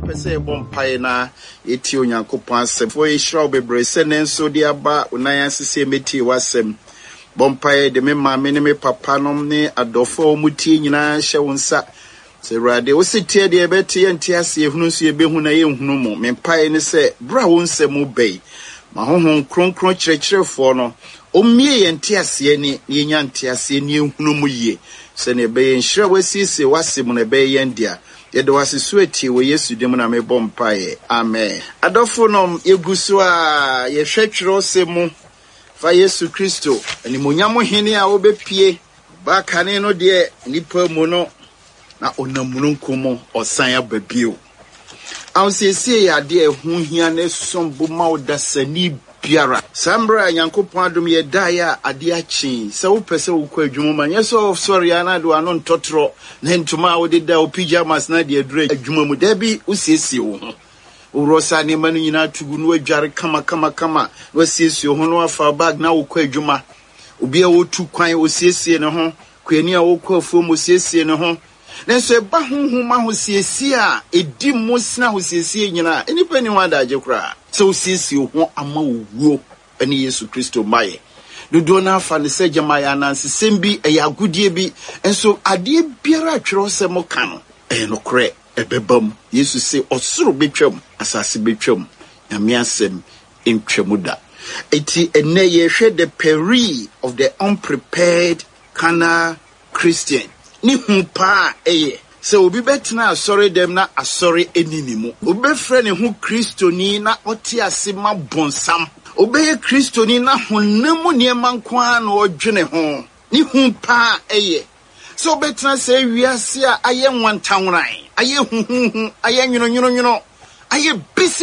Mepɛ sɛ yɛbɔ mpaeɛ na yɛtie Onyankopɔn asɛm. Foɔ yɛhyira wo bebree sɛ nnɛ nso wode aba wo nan ase sɛ yɛmmɛtie w'asɛm. Bɔ mpaeɛ de me maame ne me papa nom ne adɔfoɔ a wɔtie nyinaa hyɛ wo nsa. Sɛ Awurade, wo se teɛ deɛ yɛbɛte, yɛnte ase, yɛhunu nso yɛbɛhu na yɛnhunu mu. Me mpaeɛ ne sɛ, berɛ a wo nsɛm reba yi, ma Honhom Kronkron kyerɛkyerɛfoɔ no, ɔmmue yɛn nteaseɛ ani na yɛnya nteaseɛ na yɛnhunu mu yie, sɛdeɛ ɛbɛyɛ nhyira a woasiesie w'asɛm mu no ɛbɛyɛ yɛn dea. Yɛda wo ase so atie, wɔ Yesu din mu na mebɔ mpaeɛ. Amen. Adɔfonom, yɛgu so ara yɛhwɛ twerɛsɛm mu fa Yesu Kristo, animuonyam Hene a ɔbɛpue Ɔbaa kane no deɛ nnipa mu no, na ɔnam mununkum mu ɔsan aba bio. Ahosiesie yɛ adeɛ a ɛho hia na ɛsom bo ma ɔdasani biara. Saa mmerɛ a Nyankopɔn adom yɛ daeɛ a adeɛ akye yi, sɛ wopɛ sɛ wokɔ adwuma mu a, nyɛ sɛ wosɔre ara na de w'ano ntɔtorɔ ne ntoma a wode da wo pyjamas na de aduru adwuma mu. Dabi, wosiesie wo ho. Woworɔ saa nneɛma no nyinaa to gu na woadware kamakamakama na woasiesie wo ho na woafa wo bag na wokɔ adwuma. Obi a ɔretu kwan, ɔsiesie ne ho. Kuani a ɔrekɔ afuom, ɔsiesie ne ho. Nanso ɛba honhom ahosiesie a ɛdi mu sene ahosiesie nyinaa a, nnipa nni ho adagye koraa. Sɛ wosiesie wo ho ama owuo ne Yesu Kristo mmaeɛ. Dodoɔ no ara fa no sɛ gyama ɛyɛ anansesɛm bi, ɛyɛ agodie bi. Nso adeɛ biara a twerɛsɛm ka no, ɛyɛ nokorɛ, ɛbɛba mu. Yesu se, Ɔsoro bɛtwam, asase bɛtwam, Nyame asɛm ntwa mu da. Enti ɛnnɛ yɛrehwɛ the peril of the unprepared carnal Christian. Ne hu paa a ɛyɛ sɛ obi bɛtena asɔredɛm na asɔre nni ne mu. Obi bɛfrɛ ne ho Kristoni na ɔte ase ma bonsam. Obi bɛyɛ Kristoni na honam mu nneɛma nko ara na ɔdwene ho. Ne hu paa a ɛyɛ sɛ wobɛtena saa wiase a ayɛ nwantanworan, ayɛ huhuuhu, ayɛ nwononwononwono, ayɛ bisi.